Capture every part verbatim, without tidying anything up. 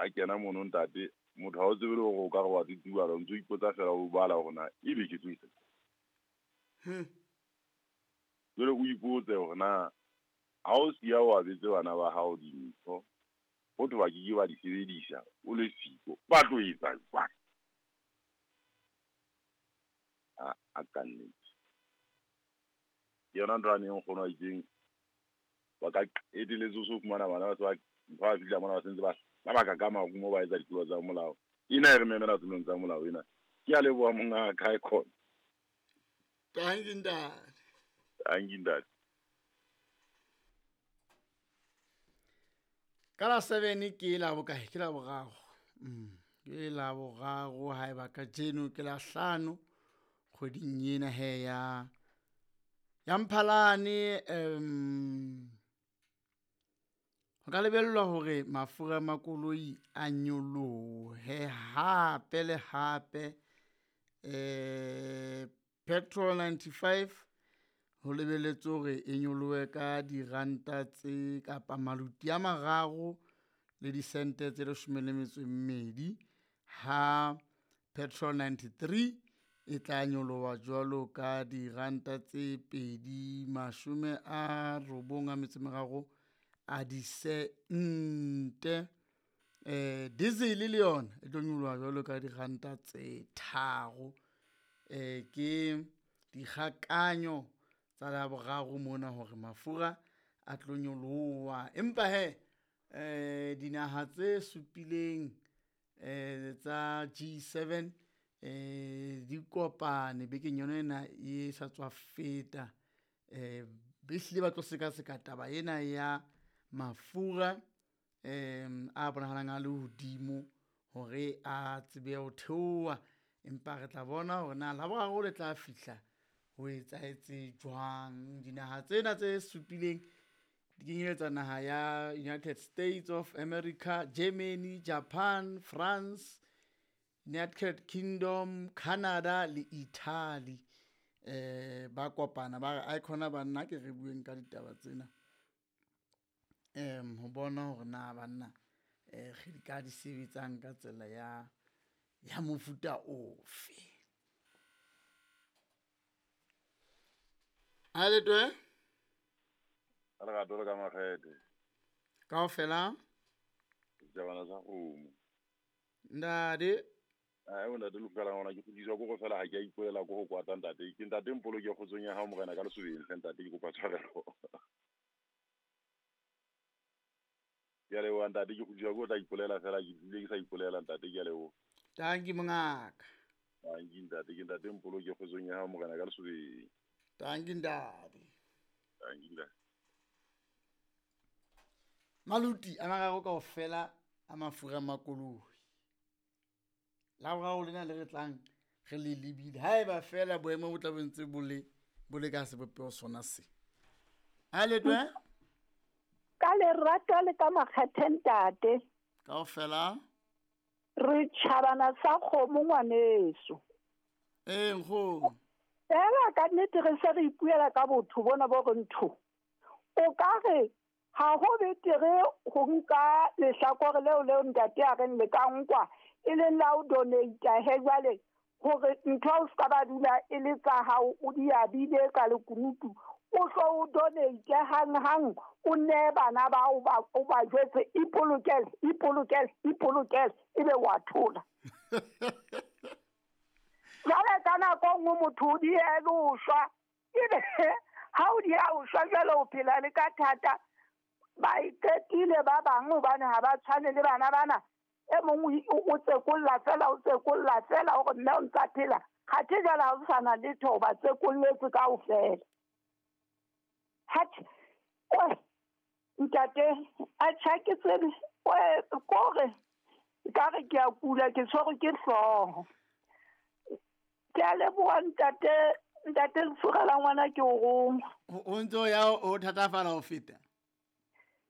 A kena mono ntate, motho ha o tsebe le hore o ka re wa titibala, o ntso ipotsa fela o bala hore na ebe ke tlo etsa. Hmm. Jwale o ipotse hore na ha o siya o abetse bana ba hao dintho, ho thwe ba ke ke ba di sebedisa, o le siko, ba tlo etsa jwang? A, a ka nnete. Ke yona ntho yane e nkgono a itseng, ba ka qetelletse o so fumana bana ba se ba, ntho ba fihla mona ba sentse ba hlabaka ka marumo ba etsa ditlolo tsa molao. Ena e re memela tulong tsa molao ena. Ke a leboha monga ka e khona. Thank you, ntate. Thank you, ntate. Ka la seven ke la bokae? Ke la boraro. Mm. Ke la boraro haeba kajeno ke la hlano kgweding ena he ya, ya Mphalane. Um, ho ka lebellwa hore mafura a makoloi a nyolohe hape le hape. Eh, petrol ninety-five ho lebelletswe hore e nyolohe ka diranta tse kapa maluti a mararo le disente tse leshome le metso e mmedi, ha petrol ninety-three e tla nyoloha jwalo ka diranta tse pedi mashome a robong a metso e meraro a disente. Eh, diesel le yona e tlo nyoloha jwalo ka diranta tse tharo. Eh, ke dikgakanyo tsa la boraro mona hore mafura a tlo nyoloha. Empa he, eh, dinaha tse supileng, eh, tsa G seven, eh, di kopane bekeng yona ena e sa tswa feta. Eh, be hlile ba tlo sekaseka taba ena ya mafura, eh, a bonahalang a le hodimo hore a tsebe ho theoha. Empa re tla bona hore na la boraro le tla fihla ho etsahetse jwang. Dinaha tsena tse supileng di kenyeletsa naha ya United States of America, Germany, Japan, France, United Kingdom, Canada le Italy. Eh, ba kopana ba re, ai khona banna ke re bueng ka ditaba tsena. Em, ho bona hore na banna, eh, re di ka di sebetsang ka tsela ya, ya mofuta ofe. A le twe? A lerato le ka makgethe. Kaofela? Setjhabana sa kgomo. Ntate. Ai, o ntate Lefukela ngwana, ke kgutliswa ke go fela ha ke a ipolela ko go kwata ntate. Ke ntate Mpolo ke kgotsong ya hao morena ka lesobeng hle ntate, ke kopa tshwarelo. Ke a leboha ntate, ke kgutliswa ke ho tla ipolela fela, ke tlile ke sa ipolela ntate, ke a leboha. Tanki mongaka. Tanki ntate, ke ntate Mpolo ke kgotsong ya hao morena ka lesobeng. Tanki ntate. Tanki ntate. Maluti a mararo kaofela a mafura a makoloi. La boraro lena le re tlang re le lebile. Haeba feela boemo bo tla bo ntse bo le, bo le ka sebopeho sona se. Ha le twe? Ka lerato le ka makgethe ntate. Kaofela? Re tjhabana sa kgomo ngwaneso. Ee, nkgono. Fela ka nnete re se re ipuela ka botho bona bo re ntho. O ka re ha ho betere ho nka lehlakore leo leo ntate a reng le ka nkwa e leng la ho donate he jwale hore ntho o ska ba dula e le tsa hao o di abile ka lekunutu, o hlo o donate hang hang o ne bana ba o ba o ba jwetse ipolokele ipolokele ipolokele ebe wa thola. Jwale ka nako nngwe motho o diele ho shwa, ebe ha o dia ho shwa jwale o phela le ka thata. Ba iqetile ba bang hobane ha ba tshwane le bana bana. E mong o, o tsekolla fela, o tsekolla fela hore mme o ntsa phela. Kgathe jwale ha o sa na letho, ba tsekolletse kaofela. Hatjhe, oi, ntate, atjhe ha ke tsebe, oi, kore, ekare ke a kula, ke tshwerwe ke hlooho. Ke a leboha ntate, ntate Lefurela ngwana ke o roma. O, o ntso ya o thatafala ho feta?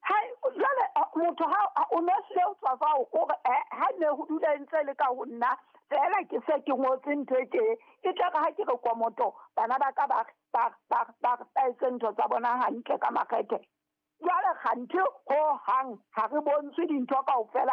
Hai, jwale, a, motho ha, a, o no hlile o tswa fa o kore, eh, ha ne ho dula e ntse e le ka ho nna, fela ke se ke ngotse ntho e tje, e tla re ha ke re komoto, bana ba ka ba re, ba re, ba re, ba re, ba etse ntho tsa bona hantle ka makgethe. Jwale kganthe ho hang ha re bontshwe dintho kaofela,